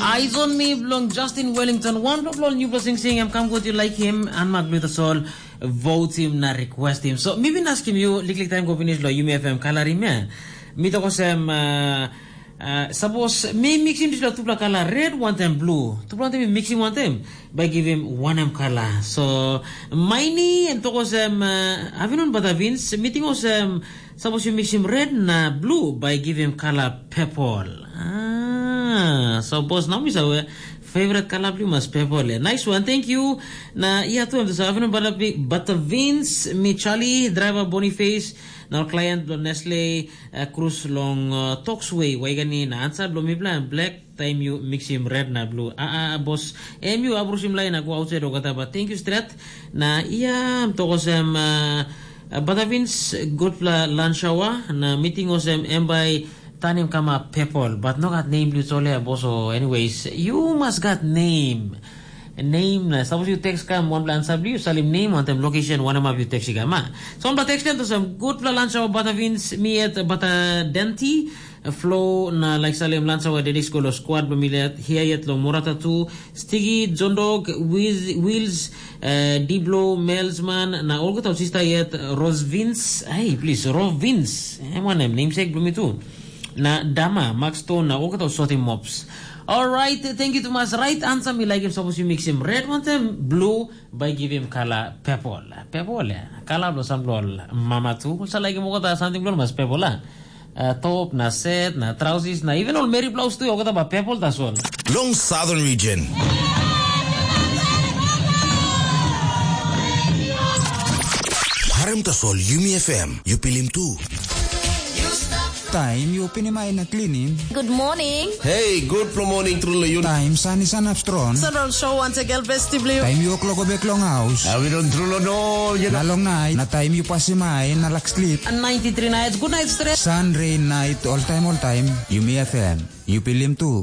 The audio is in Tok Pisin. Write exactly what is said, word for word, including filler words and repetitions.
Eyes on me bilong Justin Wellington. Wanpela bilong nupela singsing em kam gut, you like him, and mak bilong tasol vote him na request him. So mi bin askim yu liklik taim go finish lo Yumi F M kalarim ya. Mi tok olsem, uh, uh, sapos mi mixim dispela tupela kala red wantaim blue, tupela wantaim mi mixim wantaim, bai givim wanem kala. So maini em tok olsem, uh, avinon bata vins, mi ting olsem, sapos yu mixim red na blue, bai givim kala purple. Ah, so bos na mi save favorite kala bilong mas purple. Eh. Nice one, thank you. Na ia tu em tu sa avinon bata, bata vins, mi Charlie, driver Boniface, na ol client bilong Nestle, uh, Cruz long uh, Toxway, Waigani, na ansa bilong mipela em black, taim yu mixim red na blue. Ah, ah, bos, em yu abrusim lain na go outside o gata, but thank you stret. Na ia, em tok olsem, uh, uh, bata vins, gutpela lunch hour, na meeting olsem, em bai tanim kama purple, but no gat name bilong sole, bos, o anyways, you must got name. Name na, suppose you text kam, one plan sabli, you salim name, one time location, one of you text kam, ah. So, one text them to some good plan, lunch hour, bata vins, me at bata denti, flow na like salim lunch hour, dedis go lo squad, bamilet, here yet lo morata tu, Stigi, John Dog, Wiz, Wills, uh, Diblo, Melsman, na olgeta sister yet, Rose Vince, hey, please, Rose Vince, eh, one name, namesake, bumi tu. Na Dama, Max Stone, na olgeta sotim mops. Alright, thank you too much. Right answer, mi like him, suppose you mix him red, one time blue, by give him color purple. Purple, yeah. Color blo sam blo mama tu. Sa like him olgeta something blo mas purple, ah. Uh, top, na set, na trousers, na even all Mary blouse tu, olgeta ba purple, that's all. Long Southern Region. Harem tasol Yumi F M, yu pilim tu. Taim yu pinim ai na klinim. Good morning. Hey, good morning, True Leon. Taim san i sanap strong. Central Show once again, best of you. Taim yu klok bek long haus. Awi don True Leon, you Na know. Long nait, na taim yu pasim ai na lak slip. And ninety-three nights, good night stress. Sun, rain, night, all time, all time. Yumi F M. Yu pilim tu.